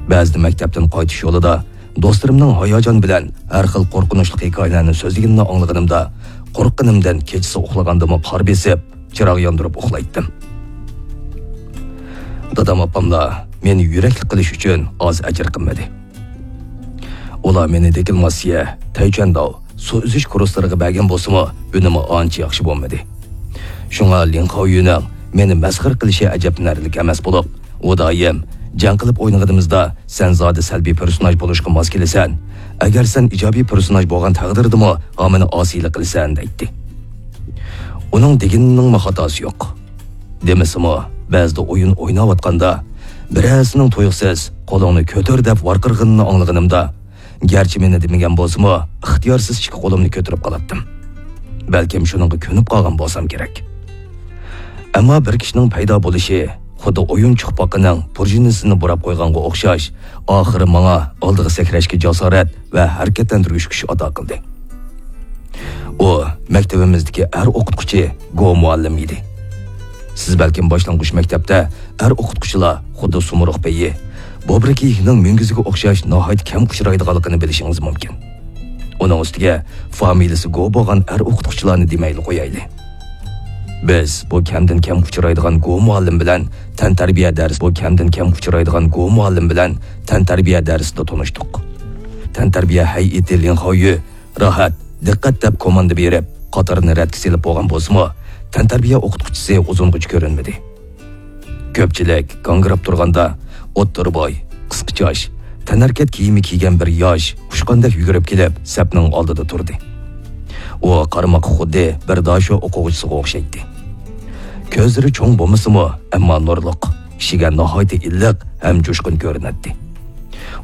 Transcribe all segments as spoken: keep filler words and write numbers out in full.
بەزىدە مەكتەپتىن قايتىش يولىدا دوستلىرىمنىڭ ھاياجان بىلەن ھەر خىل قورقۇنچلۇق ھېكايىلەرنى سۆزلىگىنىنى ئاڭلىغىنىمدا، قورققىنىمدىن كېچىسى ئۇخلىغاندىمۇ قار بېسىپ، چىراغ ياندۇرۇپ ئۇخلايتتىم. دادام ئاپاملار مېنى يۈرەكلىك قىلىش ئۈچۈن ئاز ئەجىر قىلمىدى. ئۇلار مېنى دېكلاماتسىيە، تەيچۈەنداۋ، سۇ ئۈزۈش كۇرسلىرىغا بەرگەن بولسىمۇ، ئۈنۈمى ئانچە ياخشى بولمىدى. شۇڭا لىڭ خاۋيۈنىڭ مېنى مەسخىرە قىلىشى ئەجەبلىنەرلىك ئەمەس بولۇپ، ئۇ دائىم جەڭ قىلىپ ئوينىغىنىمىزدا، سەن زادى سەلبىي پېرسوناژ بولۇشقا ماس كېلىسەن، ئەگەر سەن ئىجابىي پېرسوناژ بولغان تەقدىردىمۇ ھامىنى ئاسىيلىق قىلىسەن، دەيتتى. ئۇنىڭ دېگىنىنىڭمۇ خاتاسى يوق. دېمىسىمۇ، بەزىدە ئويۇن ئويناۋاتقاندا، بىرەرسىنىڭ تۇيۇقسىز «قولۇڭنى كۆتۈر» دەپ ۋارقىرىغىنىنى ئاڭلىغىنىمدا، گەرچە مېنى دېمىگەن بولسىمۇ، ئىختىيارسىز ئىككى قولۇمنى كۆتۈرۈپ قالاتتىم. بەلكىم شۇنىڭغا كۆنۈپ قالغان بولسام كېرەك. ئەمما بىر كىشىنىڭ پەيدا بولۇشى خۇددى ئويۇنچۇق پاقىنىڭ پۇرژىنىسىنى بۇراپ قويغانغا ئوخشاش، ئاخىرى ماڭا ئالدىغا سەكرەشكە جاسارەت ۋە ھەرىكەتلەندۈرگۈچ كۈچ ئاتا قىلدى. ئۇ مەكتىۋىمىزدىكى ئەر ئوقۇتقۇچى گو مۇئەللىم ئىدى. سىز بەلكىم باشلانغۇچ مەكتەپتە ئەر ئوقۇتقۇچىلار خۇددى سۇمۇرغ پېيى، بوبرا كېيىكنىڭ مۈڭگۈزىگە ئوخشاش ناھايىتى كەم ئۇچرايدىغانلىقىنى بىلىشىڭىز مۇمكىن. ئۇنىڭ ئۈستىگە فامىلىسى گو بولغان ئەر ئوقۇتقۇچىلارنى دېمەيلى قويايلى. بىز بۇ كەمدىن كەم ئۇچرايدىغان گو مۇئەللىم بىلەن تەنتەربىيە دەرس، بۇ كەمدىن كەم ئۇچرايدىغان گو مۇئەللىم بىلەن تەنتەربىيە دەرسىدە تونۇشتۇق. تەنتەربىيە ھەيئىتى لىڭ خاۋيۈ راھەت، دىققەت دەپ كوماندا بېرىپ، قاتارنى رەتكە سېلىپ بولغان بولسىمۇ، تەنتەربىيە ئوقۇتقۇچىسى ئۇزۇنغىچە كۆرۈنمىدى. كۆپچىلىك گاڭگىراپ تۇرغاندا، ئوتتۇرا بوي، قىسقا چاچ، تەنھەرىكەت كىيىمى كىيگەن بىر ياش ئۇچقاندەك يۈگۈرۈپ كېلىپ، سەپنىڭ ئالدىدا تۇردى. ئۇ قارىماققا خۇددى بىر داشو ئوقۇغۇچىسىغا ئوخشايتتى. كۆزلىرى چوڭ بولمىسىمۇ، ئەمما نۇرلۇق، كىشىگە ناھايىتى ئىللىق ھەم جۇشقۇن كۆرۈنەتتى.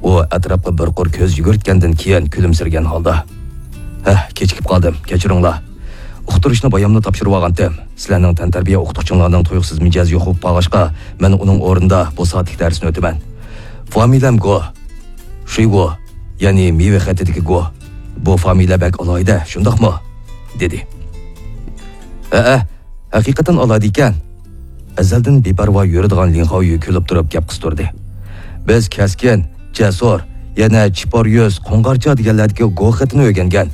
ئۇ ئەتراپقا بىر قۇر كۆز يۈگۈرتكەندىن كېيىن كۈلۈمسىرىگەن ھالدا، «ھە، كېچىكىپ قالدىم، كەچۈرۈڭلار. ئۇقتۇرۇشنى باياملا تاپشۇرۇۋالغانتىم. سىلەرنىڭ تەنتەربىيە ئوقۇتقۇچۇڭلارنىڭ تۇيۇقسىز مىجەزى يوق بولۇپ قالغاچقا، مەن ئۇنىڭ ئورنىدا بۇ سائەتلىك دەرسنى ئۆتىمەن. فامىلەم گو، شۇيگو، يەنى مېۋە خېتىدىكى گو. بۇ فامىلە بەك ئالاھىدە، شۇنداقمۇ؟» دېدى. «ھەئە، ھەقىقەتەن ئالاھىدە ئىكەن.» ئەزەلدىن بىپەرۋا يۈرىدىغان لىڭ خاۋيۈ كۈلۈپ تۇرۇپ گەپ قىستۇردى. «بىز كەسكىن، جەسۇر، يەنە چىپار يۈز، قوڭغارچا دېگەنلەردىكى گو خېتىنى ئۆگەنگەن.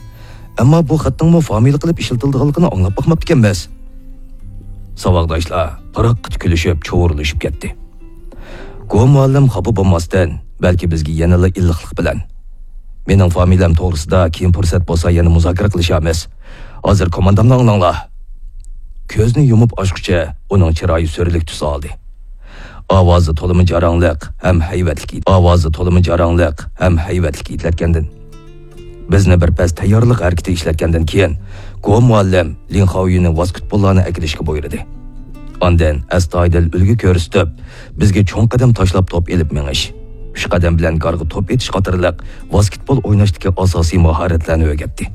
ئەمما بۇ خەتنىڭمۇ فامىلە قىلىپ ئىشلىتىلىدىغانلىقىنى ئاڭلاپ باقماپتىكەنمىز.» ساۋاقداشلار پىرقىرىت كۈلۈشۈپ، چۇۋۇرلىشىپ كەتتى. گو مۇئەللىم خاپا بولماستىن، بەلكى بىزگە يەنىلا ئىللىقلىق بىلەن، «مېنىڭ فامىلەم توغرىسىدا كېيىن پۇرسەت بولسا يەنە مۇزاكىرە قىلىشارمىز. ھازىر كوماندامنى ئاڭلاڭلار.» كۆزنى يۇمۇپ ئاچقۇچە ئۇنىڭ چىرايى سۈرلۈك تۈس ئالدى. ئاۋازى تولىمۇ جاراڭلىق ھەم ھەيۋەتلىك ئىدى. ئاۋازى تولىمۇ جاراڭلىق ھەم ھەيۋەتلىك ئېيتىلەتكەندىن. بىزنى بىر پەس تەييارلىق ھەرىكىتى ئىشلەتكەندىن كېيىن، گو مۇئەللىم لىڭ خاۋيۈنى ۋاسكېتبوللارنى ئەكېلىشكە بۇيرۇدى. ئاندىن ئەستايىدىل ئۈلگە كۆرسىتىپ، بىزگە چوڭ قەدەم تاشلاپ توپ ئېلىپ مېڭىش، ئۈچ قەدەم بىلەن گارغا توپ ئېتىش قاتارلىق ۋاسكېتبول ئويناشتىكى ئاساسىي ماھارەتلەرنى ئۆگەتتى.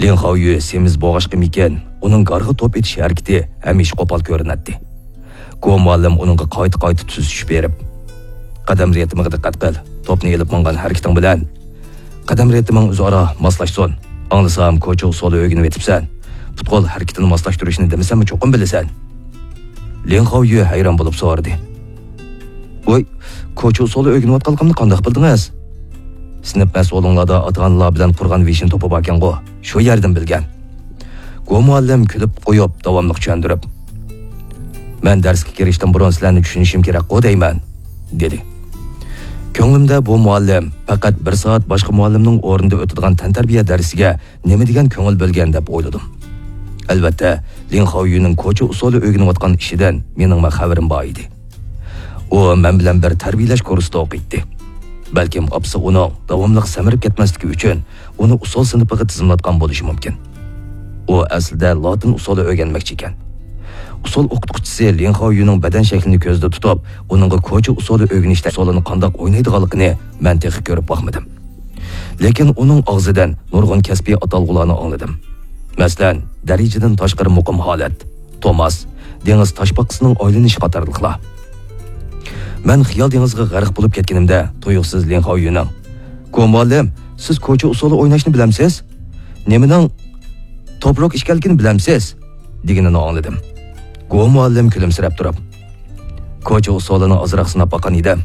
لىڭ خاۋيۈ سېمىز بولغاچقىمىكىن، ئۇنىڭ گارغا توپ ئېتىش ھەرىكىتى ھەمىشە قوپال كۆرۈنەتتى. گو مۇئەللىم ئۇنىڭغا قايتا-قايتا تۈزىتىش بېرىپ، «قەدەم رىتىمىغا دىققەت قىل، توپنى ئېلىپ ماڭغان ھەرىكىتىڭ بىلەن قەدەم رىتىمىڭ ئۆزئارا ماسلاشسۇن. ئاڭلىسام، كوچا ئۇسسۇلى ئۆگىنىۋېتىپسەن. پۇت-قول ھەرىكىتىنى ماسلاشتۇرۇشنى دېمىسەممۇ چوقۇم بىلىسەن.» لىڭ خاۋيۈ ھەيران بولۇپ سورىدى. «ۋاي، كوچا ئۇسسۇلى ئۆگىنىۋاتقانلىقىمنى قانداق بىلدىڭىز؟» «سىنىپ مەسئۇلۇڭلاردا ئاتا-ئانىلار بىلەن قۇرغان ۋېشىن توپى باركەنغۇ، شۇ يەردىن بىلگەن.» گو مۇئەللىم كۈلۈپ قويۇپ، داۋاملىق چۈشەندۈرۈپ، «مەن دەرسكە كىرىشتىن بۇرۇن سىلەرنى چۈشىنىشىم كېرەكقۇ دەيمەن» دېدى. كۆڭلۈمدە بۇ مۇئەللىم پەقەت بىر سائەت باشقا مۇئەللىمنىڭ ئورنىدا ئۆتىدىغان تەنتەربىيە دەرسىگە نېمە دېگەن كۆڭۈل بۆلگەن دەپ ئويلىدىم. ئەلۋەتتە، لىڭ خاۋيۈنىڭ كوچا ئۇسسۇلى ئۆگىنىۋاتقان ئىشىدىن مېنىڭمۇ خەۋىرىم بار ئىدى. ئۇ مەن بىلەن بىر تەربىيەلەش كۇرسىدا ئوقۇيتتى. بەلكىم ئاپىسى ئۇنىڭ داۋاملىق سەمرىپ كەتمەسلىكى ئۈچۈن ئۇنى ئۇسسۇل سىنىپىغا تىزىملاتقان بولۇشى مۇمكىن. ئۇ ئەسلىدە لاتىن ئۇسسۇلى ئۆگەنمەكچى ئىكەن. ئۇسسۇل ئوقۇتقۇچىسى لىڭ خاۋيۈنىڭ بەدەن شەكلىنى كۆزدە تۇتۇپ، ئۇنىڭغا كوچا ئۇسسۇلى ئۆگىنىش ئۇسسۇلىنى قانداق ئوينايدىغانلىقىنى مەن تېخى كۆرۈپ باقمىدىم. لېكىن ئۇنىڭ ئاغزىدىن نۇرغۇن كەسپىي ئاتالغۇلارنى ئاڭلىدىم. مەسىلەن، دەرىجىدىن تاشقىرى مۇقىم ھالەت، توماس، دېڭىز تاشپاقىسىنىڭ ئايلىنىشى قاتارلىقلار. مەن خىيال دېڭىزىغا غەرق بولۇپ كەتكىنىمدە، تۇيۇقسىز لىڭ خاۋيۈنىڭ، «گو مۇئەللىم، سىز كوچا ئۇسسۇلى ئويناشنى بىلەمسىز؟ نېمىنىڭ توپروك ئىكەنلىكىنى بىلەمسىز؟» دېگىنىنى ئاڭلىدىم. گو مۇئەللىم كۈلۈمسىرەپ تۇرۇپ، «كوچا ئۇسسۇلىنى ئازراق سىناپ باققان ئىدىم.